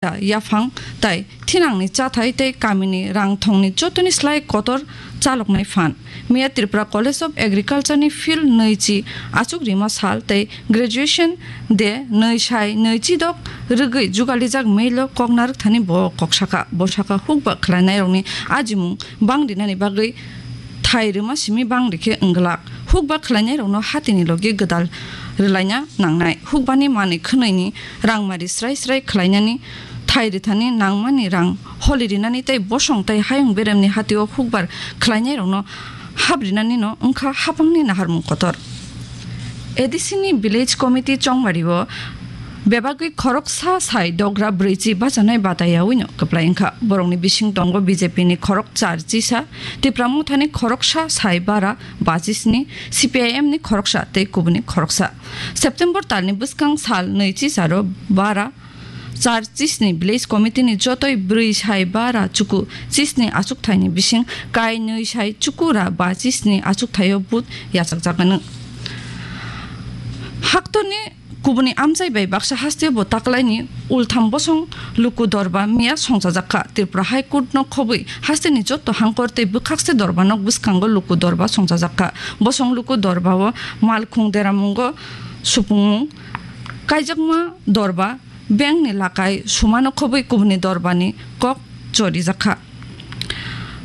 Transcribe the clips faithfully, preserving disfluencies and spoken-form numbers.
yaphang tai thinangni chathai tei kamini rang thongni jotoni slai kotor chaloknai phan. Miya Tripura College of Agriculture ni field nui chi achuk rima sal tei graduation de nui sai nui chi dok rwgwi jugalijak mail o kok narwk thani bo kok saka. Bo saka hukba khlainairokni ajimung bang rinani bagwi thai rwma simi bang rikhe wngglak. Hukba khlainairokno hatini logi gwdal rwlaina nangnai. Hukbani manwi khwnwini rangmari srai srai khlainani, thai rithani nangmani rang holi rinani tei bosong tei hayung beremni hatio hukbar khlainairokno hap rinani no wngkha hapangni naharmung kotor. A D C ni Village Committee chongmario bebagwi khoroksa sai dogra brwichi bachanai batayawino kwplai wngkha. Borokni bising tongo B J P ni khorok char chisa, Tipra Mothani khoroksa sai bara bachisni, C P I M ni khoroksa tei kubuni khoroksa. September talni bwskang sal nui chisaro bara char chisni Village Committee ni jotoi brwi sai bara chuku chisni achukthaini bising kai nui sai chuku ra bachisni achukthaio vote yachakjakgano. Haktorni kubuni amchai bai baksa hasteo bo taklaini ultham bosong luku dorba miya songchajakha. Tripura High Court no khobwi hasteni jotto hangkor tei bwkhakse dorba nok bwskango luku dorba songchajakha. Bosong luku dorba o malkhung deramungo supungmung kaijakma dorba bengni lakai sumano khobwi kubuni dorbani kok chorijakha.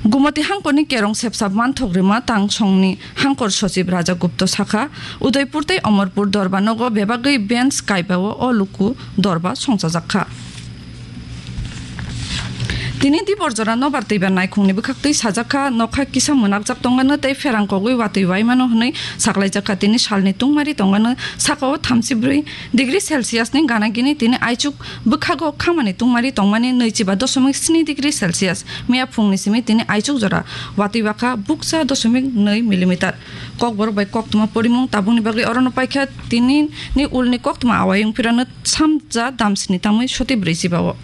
Gumoti hangkorni kerong sepsap manthok rima tang songni hangkor sochib Raja Gupta sakha, Udaipur tei Omorpur dorba nogo bebagwi bench kaibao o luku dorba songchajakha. Tini dibor jora nobar twibar naikhungni bwkhaktwi sajakha, nokha kisa mwnakjak tongano tei pherang kogwi watwi waimano hwnwi saklaijakha. Tini salni tungmari tongano sakao thamchi brwi degree Celsius ni gana gini tini aichuk bwkhago khamani tungmari tongmani nui chiba dosomik sni degree Celsius. Miya phungni simi tini aichuk jora watwi bakha bukcha dosomik nui millimeter. Kokborok bai koktwma porimung tabukni bagwi orono paikha tini ni ulni koktwma awai wngphirano samja damsni tangwi soti brwi chiba o.